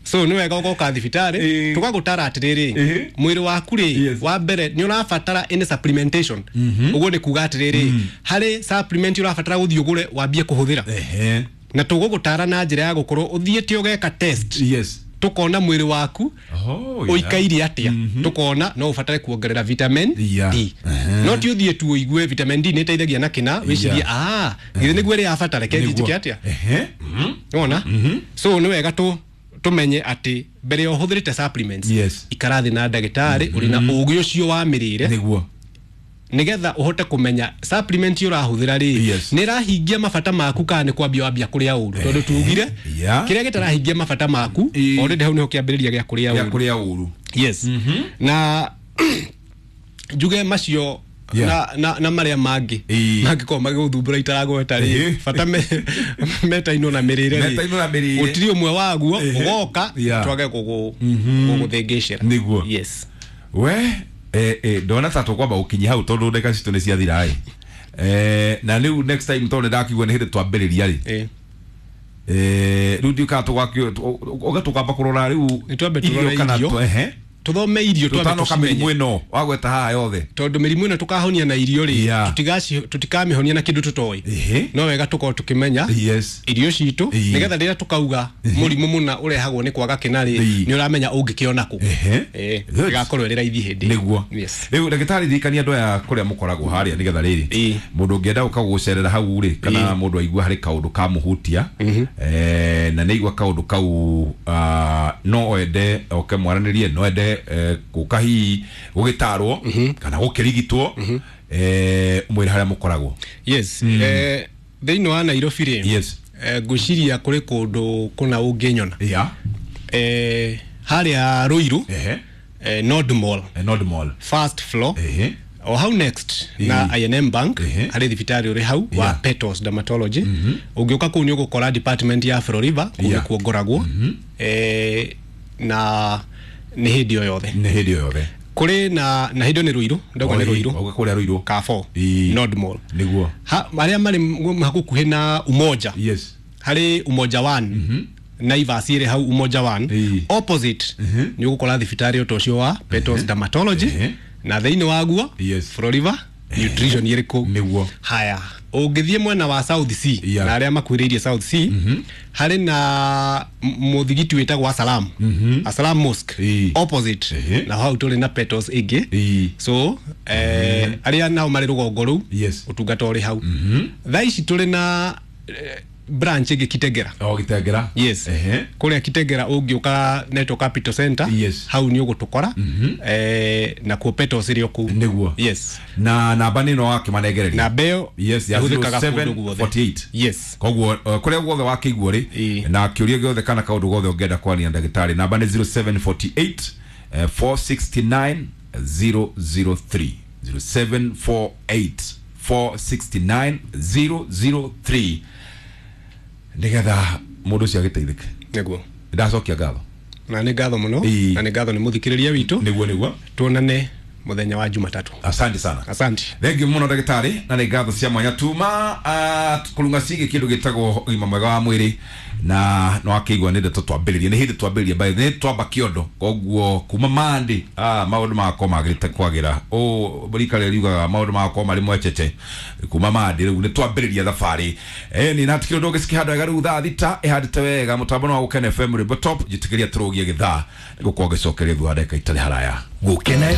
So nĩ wega ũgoka thibitarĩ tũgagũtara atĩrĩrĩ, mwĩrĩ waku rĩ, wa mbere nĩ ũrabatara any supplementation. Ũguo nĩ kuga atĩrĩrĩ, harĩ supplement ũrabatara gũthiĩ ũgũre wambie kũhũthĩra, na tũgũgũtara na njĩra ya gũkorwo ũthiĩte ũgeka test, tukona mwĩrĩ waku ũikaire atĩa, tukona no ũbatare kuongerera vitamin D. No ti ũthiĩ tu ũigue vitamin D nĩ ĩteithagia na kĩna, wĩcirie, "Ah, githĩ nĩguo ĩrĩa ya bata, reke thiĩ njĩke atĩa?" Wona? So nĩ wega tu tumenye atĩ mbere ya ũhũthĩrĩte supplements, ikara thĩ na ndagĩtarĩ ũrĩ na ũgĩ ũcio wa mĩrĩre, nigetha ũhote kũmenya supplement ũrahũthĩra rĩ, nĩ ĩrahingia mabata maku kana nĩ kwambia wambia kũrĩa ũru, tondũ tugire kĩrĩa gĩtarahingia mabata maku, already hau nĩho kĩambĩrĩria gĩa kũrĩa gĩa ũru. Kũrĩa ũru. Yes, na njuge macio na marĩa mangĩ mangĩkorwo magĩgũthumbũra itaragweta rĩ, bata metainwo na mĩrĩre rĩ, Metainwo na mĩrĩre. Gũtirĩ ũmwe waguo ũgoka twage gũgũthĩngĩcĩra. Yes. We ndona ta tũkwamba gũkinyia hau tondũ ndagĩka citũ nĩ ciathira ĩ. Na rĩu next time, tondũ nĩndakigua nĩ hĩndĩ twambĩrĩria rĩ, rĩu ndiũkaga tũgakĩ ũga tũkamba kũrora rĩu Nĩ twambe tũrore irio kana irio. Tũthome irio, twambe tũtanoka mĩrimũ tũcimenye, ĩno wagweta haha yothe. Tondũ mĩrimũ ĩno tũkahonia na irio rĩ, tũtikamĩhonia na kĩndũ tũtoĩ. No wega tũkorwo tũkĩmenya irio citũ, nĩgetha rĩrĩa tũkauga mũrimũ mũna ũrehagwo nĩ kwaga kĩna rĩ, nĩ ũramenya ũngĩkĩona kũ. Ĩgakorwo ĩrĩ raithi hĩndĩ ĩyo. Yes. Rĩu ndagĩtarĩ, ririkania andũ aya kũrĩa mũkoragwo harĩa, nĩgetha rĩrĩ mũndũ ũngĩenda gũka gũcerera hau rĩ, kana mũndũ aigua harĩ kaũndũ kamũhutia, na nĩ aigua kaũndũ kau, no ende oke mwaranĩrie, no ende gũka hihi gũgĩtarwo kana gũkĩrigitwo, mwĩre harĩa mũkoragwo. Yes, thĩinĩ wa Nairobi rĩ, ngwĩciria kũrĩ kũndũ kũna ũngĩnyona. Harĩa Ruiru, Nord Mall, Nord Mall, first floor, o hau next na I&M Bank, harĩ thibitarĩ ũrĩ hau wa Petals Dermatology. Ũngĩũka kũu nĩ ũgũkora department ya Floriva kũu, nĩkuo ngoragwo, na nĩ hĩndĩ o yothe. Nĩ hĩndĩ o yothe. Kũrĩ na hĩndĩ ĩyo nĩ Ruiru, ndauga nĩ Ruiru. Oka kũrĩa Ruiru. Kafo Nord Mall. Arĩa marĩ hakuhĩ na Umoja, harĩ Umoja One, Naivas ĩrĩ hau Umoja One, opposite nĩ ũgũkora thibitarĩ ũta ũcio wa Petals Dermatology, na thĩinĩ waguo Floriva Nutrition ĩrĩ kũu. Haya, ũngĩthiĩ mwena wa South C, na arĩa makuhĩrĩirie South C, harĩ na mũthigiti wĩtagwo Asalam, Asalam Mosque, opposite, na hau tũrĩ na Petals ĩngĩ. So arĩa nao marĩ rũgongo rũu, ũtungata ũrĩ hau. Thaa ici tũrĩ na branch ĩngĩ Kitengera. O Gitengera. Yes. Kũrĩa Kitengera ũngĩũka Network Capital Center, hau nĩ ũgũtũkora, nakuo Petals ĩrĩ o kũu. Yes. Na namba nĩ ĩno wakĩmanengereria. Namba ĩyo yes, ya ĩhũthĩkaga kũndũ guothe. 0748. Yes. Koguo kũrĩa guothe wakĩiguo rĩ, na kĩũria gĩothe kana kaũndũ gothe ũngĩenda kwaria na ndagĩtarĩ, namba nĩ 0748 469 003, 0748 469 003, nĩgetha mũndũ ũcio agĩteithĩke. Ndacokia ngatho. Na nĩ ngatho mũno. Na nĩ ngatho nĩ mũthikĩrĩria witũ. Nĩguo. Tuonane mũthenya wa Jumatatu. Asante sana. Asante. Thengiũ mũno ndagĩtarĩ, na nĩ ngatho cia mwanya tuma kũrunga ciĩgiĩ kĩndũ gĩtagwo ũgima mwega wa mwĩrĩ, na no akĩigua nĩ ndeto twambĩrĩria, nĩ hĩndĩ twambĩrĩria by nĩ twamba kĩondo, koguo kuma mandi maũndũ magakorwo magĩrĩte kwagĩra ũ rika rĩrĩa riugaga maũndũ magakorwo marĩ mwecece kuma mandi. Rĩu nĩ twambĩrĩria thabarĩ ni na tikiro ndũngĩ cikĩhanda wega. Rĩu thaa 6 ĩhandĩte wega, mũtambo no wa Gũkena FM, rwĩmbo top njĩtĩkĩria tũrũgie gĩthaa nĩgũkorwo ngĩcokeria thutha wa ndagĩka itarĩ haraya. Gũkena.